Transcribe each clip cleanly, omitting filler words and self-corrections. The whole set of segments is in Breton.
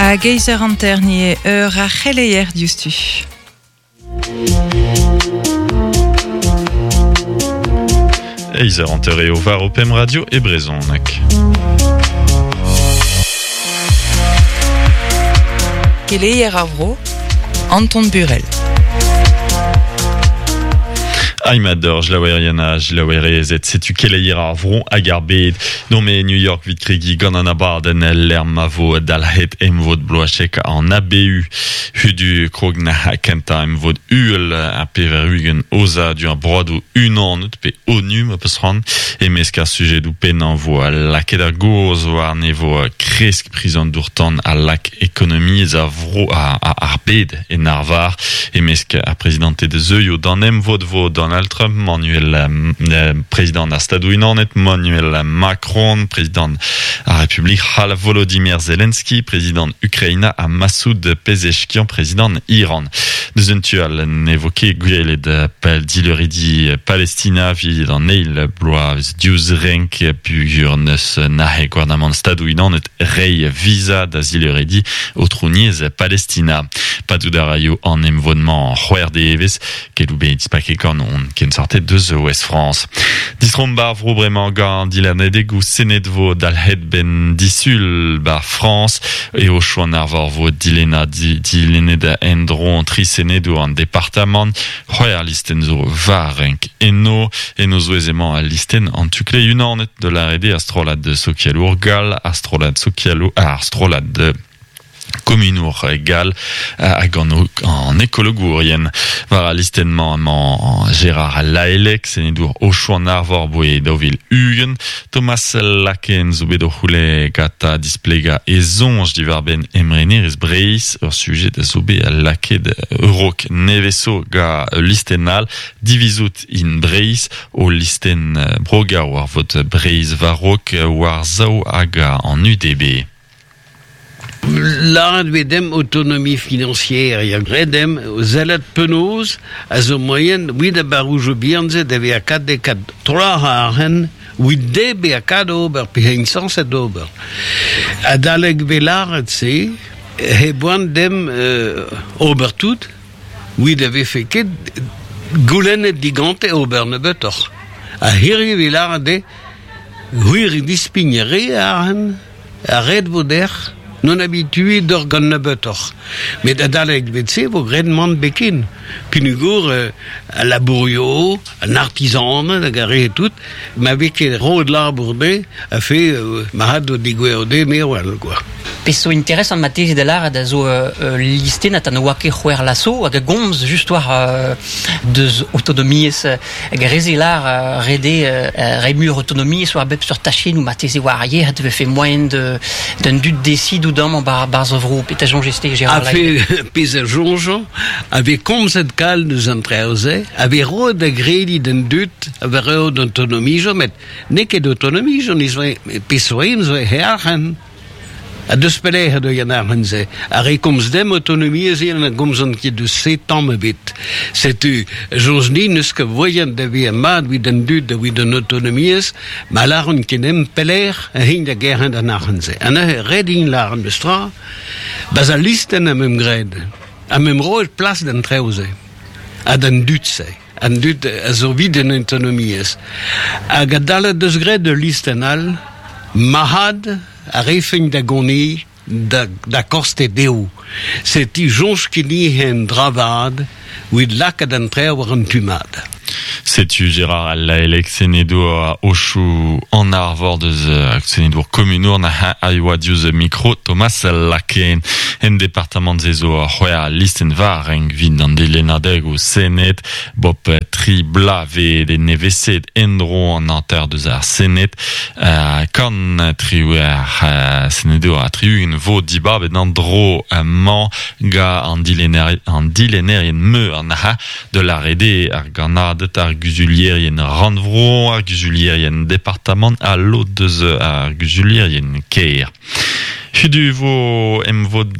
Hag eizh eur hanter ni eo eur ar c'heleier diouzhtu. Eizh eur hanter eo war ho pemp radio e brezhoneg. Keleier ar vro, Anton Burel. Aimador, jlaouerien ha jlaouerezed, setu keleier ar vro hag ar bed. Nomp e New York 'vit kregiñ gant an abadenn lec'h ma vo dalc'het emvod bloazek an ABU. Hudu krog na kentañ emvod uhel ar 80 aozadur ar broadoù unanet pe ONU ma peus c'hoant. E-mesk ar sujedoù pennañ 'vo lakaet ar gaoz warne 'vo kresk priz an dour-tan a lak ekonomiezh ar vro ar bed en arvar. E-mesk ar prezidanted zeuio d'an emvod 'vo Donald Trump, Manuel prezidant ar Stadoù-Unanet, Manuel Macron, prezidant ar Republik c'hall, Volodymyr Zelensky, prezidant Ukraina ha Masoud Pezeshkian, prezidant Iran. Deus un tu all ne vo ket gwelet dileuridi Palestina evit an eil bloaz diouzh renk peogwir n'eus nac'het gouarnamant Stadoù-Unanet reiñ visa da zileuridi aotrouniezh Palestina. Padout a raio an emvod-mañ c'hwec'h devezh, keloù bet dispaket gant hon kensorted deus Ouest-France. Distromp ar vro bremañ gant dilennadegoù Sened vo dalc'het 'benn disul 'ba Frañs. Eo choant arvor vo dilennañ dilennet en-dro tri senedour an departamant. C'hwec'h listenn zo war renk eno. En o zouez emañ al listenn an tu-kleiz unanet da lâret eo ar strollad sokialour gall, ar strollad sokialour, ar strollad komunour gall hag an ekologourien. War al listenn-mañ emañ Gérard Laelec, senedour Aochou-an-Arvor boe 2020. Thomas Laken zo bet o c'houlenn gantañ displegañ e soñj diwar-benn emrenerezh Breizh, ur sujed a zo bet lakaet a-raok nevez-zo gant ul listenn all, Divizout in Breizh, o listenn brogañ war vot Breizh war-raok war-sav hag an UDB. Lâret vez demp autonomie financière, ya graet demp sellet penaos a zo moaien evit ar barroujoù bihan-se da vezañ kat de kat troac'h arc'hant evit dezhe bezañ kat ober pe int sañset ober. Adalek vez lâret se he boan demp ober tout evit a vefe ket goulennet digante ober nebeutoc'h. Ha hiriv e lâret dezhe gwir dispign re arc'hant. Ret vo dec'h n'on habituet d'or gant nebeutoc'h. Met adalek vet-se vo graet mann beken. Peogwir al labourio, an artizaned hag ar re tout, ma vez ket roet labour dezhe, a fe ma had o degouezho dezhe me wel quoi. Pezh zo interesant marteze da lâret a zo ul listennad ha ne oa ket c'hwec'h laso hag a gomz just war deus autonomiezh Hag ar re-se lâr ret eo reiñ muioc'h autonomiezh war bep seurt tachennoù marteze war ar yec'hed e vefe moaien d'an dud desidout amañ 'barzh ar vro. Petra soñjez-te, Gérard A fe pezh a soñjañ, a vez komzet kalz deus an traoù-se, a vez roet da grediñ d'an dud a vez roet autonomiezh, met n'eo ket autonomiezh, pezh zo zo he arc'hant. Ha deus pelec'h eo an arc'hant-se? Ar re komz demp autonomiezh eo na gomzont ket deus se tamm ebet. Setu, soñj din n'eus ket voaien da vezañ mat evit an dud evit an autonomiezh, ma lâront ket demp pelec'h eh int da gerc'hat an arc'hant-se. Ha neuze ret int lâret memes tra, ba'z al listenn am eus graet, am eus roet plas d'an traoù-se ha d'an dud-se. An dud a zo evit an autonomiezh. Hag adalek deus graet ul listenn all, marc'had a refent da goneñ da, da koste dezho. Setu soñj ket en dra vat evit lakaat an traoù war an tu mat. Setu Gérard Laelec, senedour Aochou an Arvor deus senedour komunour na a yoa diouzh mikro Thomas Laken. En departamant-se zo c'hwec'h listenn war renk 'vit an dilennadegoù Sened. Bop tri bloavezh e nevesaet en-dro an hanter deus ar Sened. Kant triwec'h senedour ha tri-ugent vo dibabet an dro-mañ gant an dilennerien meur an de lâret eo ar gannaded, ar guzulierien rannvro, ar guzulierien departamant ha lod deus ar guzulierien kêr. Hudu vo emvod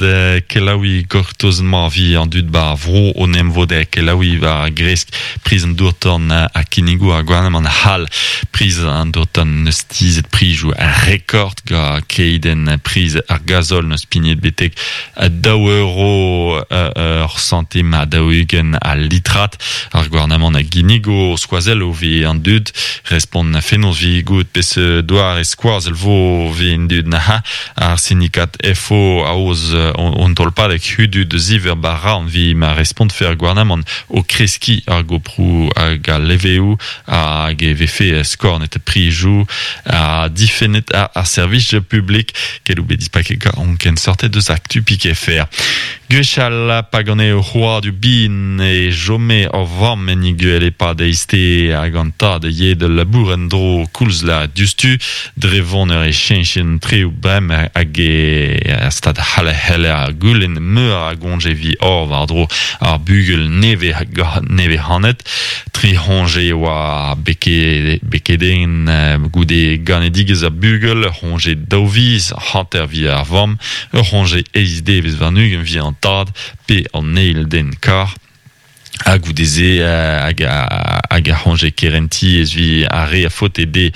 kelaouiñ gortoz ma vi an dud ba vro on emvod kelaouiñ war gresk priz an dour-tan ha kinnigoù ar gouarnamant c'hall. Priz an dour-tan neus tizhet prizioù rekord ga keidenn priz ar gazol neus pignet betek daou euro ur santim ha 40 al litrad. Ar gouarnamant a ginnigo skoazell o vi an dud respont fenoz vi gout peseurt doare skoazell vo vi an dud naha. Ar sindikat FO aoz on tolpadeg hudu da ziver bara an vi ma respontfe ar gouarnamant o kreskiñ ar goproù hag al leveoù hag e vefe skornet prizioù ha difennet ar servij publik. Keloù bet dispaket gant hon kenseurted deus Actu Pik FR. Gwechall pa gane ur c'hrouadur bihan e chome ur vamm en he gwele e-pad eizhtez hag an tad a yee da labour en-dro koulz la diouzhtu. Dre voneur e cheñchen treoù bremañ hag e stad c'hall e c'heller goulenn meur a goñje evit hor war-dro ar bugel nevez-c'hanet. Tri c'hoñje e oa bekedenn goude ganedigezh ar bugel, ur c'hoñje daou viz, hanter evit ar vamm, ur c'hoñje eizh devezh warn-ugent evit an tad pe an eil den kar. Ha goude-se hag hag ar c'hoñje kerentiezh evit ar re a faote dezhe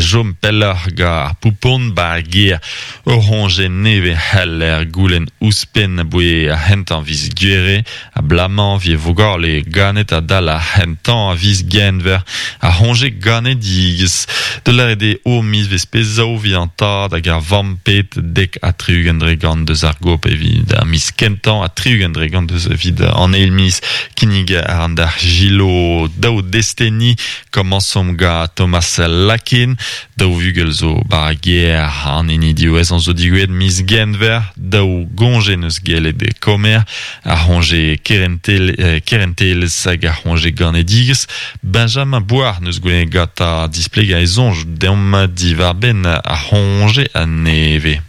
chom pelloc'h gant ar poupon 'ba ar gêr. Ur c'hoñje nevez c'heller goulenn ouzhpenn aboe ar c'hentañ viz Gouere. Abalamour e vugale ganet adal ar c'hentañ a viz Genver ar c'hoñje ganedigezh. Da lâret eo o mizvezh pezh evit an tad hag ar vamm pet 70% deus ar gop evit ar miz kentañ ha 60% deus evit an eil miz. Kinnig a ran d'ar Gilo daou desteni. Komañsomp gant Thomas Lakin. Daou vugel zo 'ba ar gêr, an hini diwezhañ zo digouezhet miz Genver. Daou goñje 'neus gellet komer. Ar c'hoñje kerentelezh hag ar c'hoñje ganedigezh. Benjamin Boire 'neus goulennet gantañ displegañ e soñj deomp diwar-benn ar c'hoñje a-nevez.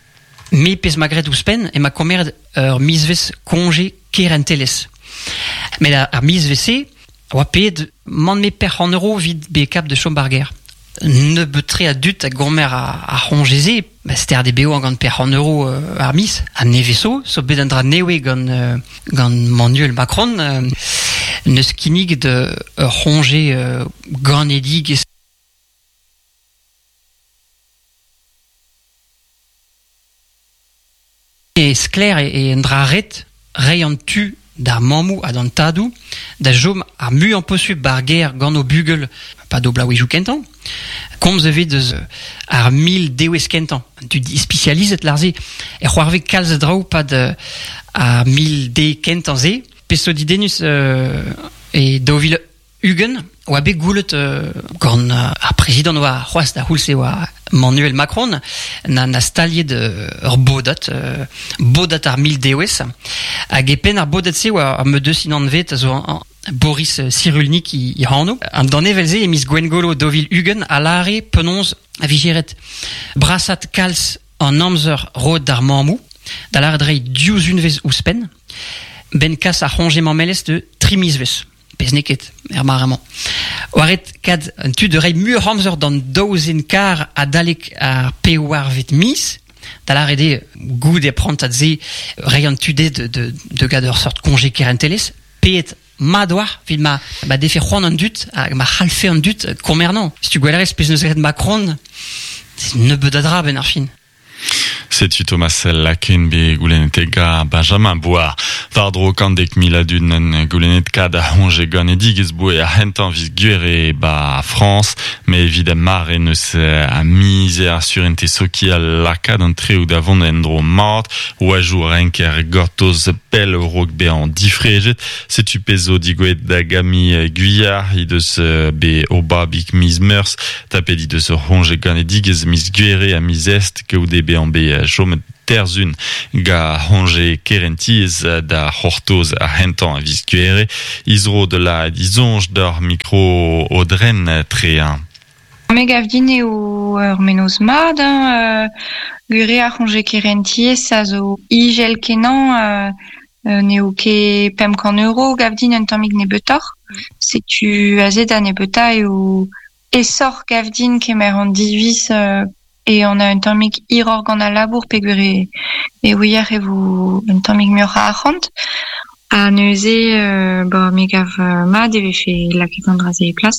Me pezh 'ma graet ouzhpenn emañ komeret ur mizvezh koñje kerentelezh. Met ar mizvezh-se a oa paeet mann-me perc'h euro evit bezañ kap da chom 'bar gêr. Nebeut-tre a dud a gomer ar c'hoñje-se, ba sterd eo bevañ gant perc'h euro ar miz. Ha nevez zo, zo bet un dra nevez gant gant Manuel Macron, neus kinniget ur c'hoñje ganedigezh. E sklaer eo un dra ret reiñ an tu d'ar mammoù ha d'an tadoù da chom ar muiañ posupl 'bar gêr gant o bugel 'pad o bloavezhioù kentañ. Komz e vez deus ar mil dewezh kentañ. An tud ispisializet lâr-se e c'hoarvez kalz a draoù 'pad ar mil dez kentañ-se. Pezh zo didennus e 2020 oa bet goulet gant ar prezidant oa c'hoazh da c'houlz-se oa Manuel Macron na, na staliet ur bodad, bodad ar mil dewezh. Hag e penn ar bodad-se oa ar medeus inanvet a zo Boris Cyrulnik i anv. An danevell-se e miz Gwengolo 2020 a lâre penaos a vije ret brasat kalz an amzer roet d'ar mammoù, da lâret reiñ div unvezh ouzhpenn, 'benn kas ar c'hoñje mammelezh de tri mizvezh. Pezh n'eo ket er mare-mañ. Oa ret kad an tu da reiñ muioc'h amzer d'an daou zen kar adalek ar pevarvet miz, da lâret eo goude prantad-se reiñ an tu dezhe de gad ur seurt koñje kerentelezh, paeet mat oa evit ma, ma defe c'hoant an dud hag ma c'hallfe an dud komernañ. Setu gwellerez pezh neus graet Macron, nebeut a dra benn ar fin. Setu Thomas Laken bet goulennet ga Benjamin Boar. War-dro 110 000 a dud n'en goulennet kad ar c'hoñje ganedigezh boe ar c'hentañ viz Gouere ba Frañs, met evit ar mare n'eus a mizer ar surentez sokial lakaat an treoù da vont en-dro mat. Oajoù renker gortoz pell a-raok bezañ difrejet. Setu pezh zo digouezhet da Gami Guyard he deus bet o babig miz Meurzh. Tapet he deus ur c'hoñje ganedigezh miz Gouere ha miz Est goude bezañ bet chomet terzhun gant c'hoñje kerentiezh da c'hortoz ar c'hentañ a viz Gouere. He zro da lâret he soñj doc'h mikro Aodren Trehin. Me gav din eo ur mennozh mat hein, gwir eo ar c'hoñje kerentiezh a zo izel-kenañ n'eo ket 500 euro gav din un tammig nebeutoc'h. Setu aze da nebeutañ eo aesoc'h gav din kemer an diviz. e on a un tammig hiroc'h gant al labour peogwir e e ouier e vo un tammig muioc'h a arc'hant. Ha neuze ba me gav mat e vefe lakaet an dra-se e plas.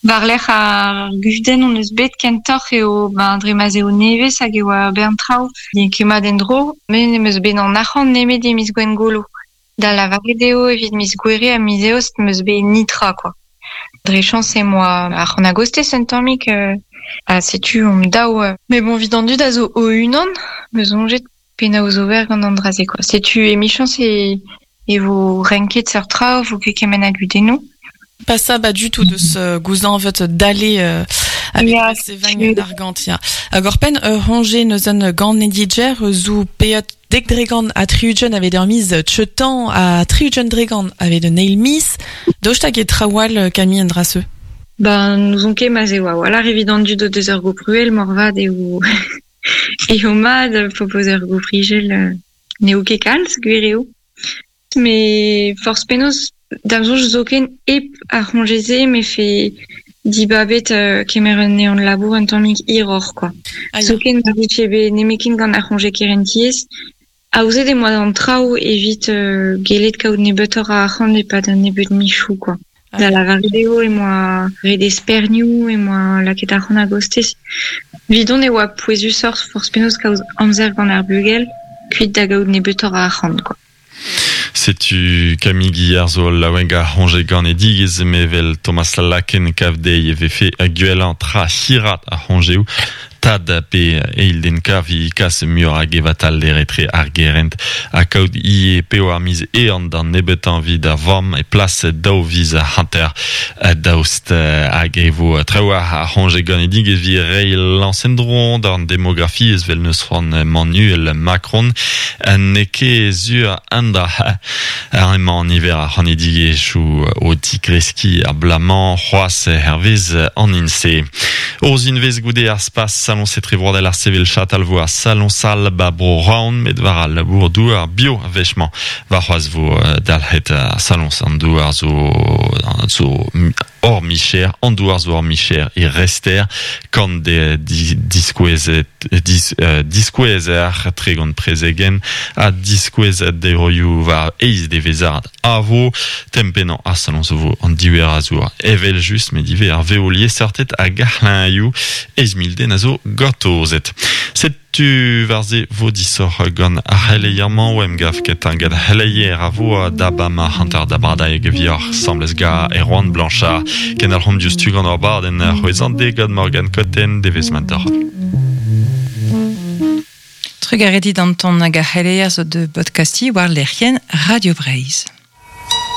War-lerc'h ar gudenn hon eus bet kentoc'h eo ben dre ma'z eo nevez hag e oa ur bern traoù n'eo ket mat en-dro. Me n'em eus bet an arc'hant nemet e miz Gwengolo. Da lavaret eo evit miz Gouere ha miz Eost 'm eus bet nitra kwa. Dre chañs em boa arc'hant a-gostez un tammig ha setu omp daou. Met bon, evit an dud a zo o-unan, 'm eus soñjet penaos ober gant an dra-se kwa. Setu emichañs e e vo renket seurt traoù, 'vo ket kement a gudennoù. Pas ça ba du tout deus gouzañvet dale avec Ya, sevañ argant ya. Hag oc'hpenn ur c'hoñje neus un ganedigezh zo paeet 10% ha 60 avait ur miz chetan ha 60% avait un eil miz. Daoust hag e traoù all Camille an dra-se? Ben, n'ouzon ket ma'z eo a-walc'h evit an dud o deus ur gopruel moarvat eo eo mat p'ho peus ur goprigel n'eo ket kalz, gwir eo. Met forzh penaos, da'm soñj zoken hep ar c'hoñje-se 'mefe dibabet kemer un ehan-labour un tammig hiroc'h kwa. Ah ya. Zoken ma vije bet nemetken gant ar c'hoñje kerentiezh, aozet em boa an traoù evit gellet kaout nebeutoc'h a arc'hant e-pad un nebeud michoù kwa. Ah Da ya. lavaret eo em boa ret espernioù, em boa lakaet arc'hant a-gostez. Evidon e oa pouezusoc'h forzh penaos kaout amzer gant ar bugel, kuit da gaout nebeutoc'h a arc'hant kwa. Setu Camille Guillard zo laouen ar c'hoñje ganedigezh mevel Thomas Laken kav dezhi e vefe gwellañ tra hirat ar c'hoñjeoù tad pe eil den kav kas muioc'h a gevatalder etre ar gerent ha kaout ivez p'eo ar miz ehan d'an nebeutañ evit ar vamm e plas daou viz hanter daoust hag e vo traoù ar c'hoñje ganedigezh evit reiñ lañs en-dro d'an demografiezh 'vel n'eus c'hoant Emmanuel Macron N'eo ket sur an dra. Emañ niver ar c'hanedigezhioù o tigreskiñ abalamour c'hoazh hervez an INSEE. Ur goude ar spas saloñs etrevroadel ar sevel chatal vo ar saloñs all ba bro Rouen met war al labour-douar bio a-wech-mañ. Warc'hoazh vo dalc'het ar saloñs an douar zo zo hor micher, an douar zo hor micher e rester kant diskouezet diskouezer 30 prezegenn ha diskouezet deroioù war eizh devezhad a vo. Tem pennañ ar saloñs vo an diouer a zour evel-just met ivez ar vev liesseurted hag ar c'hleñioù 8000 den a zo gortozet. Setu war-se vo disoc'h gant ar c'heleier-mañ o emgav kentañ gant c'heleier a vo da bama hanter da bradaeg vioc'h 'sambles ga Erwan Blanchard. Kendalc'homp diouzhtu gant hor badenn c'hwezhañ gant Morgane Cotten devezh mat deoc'h. Trugarez dit Anton hag ar c'heleier zo de podcastiñ war lec'hienn Radio Breizh.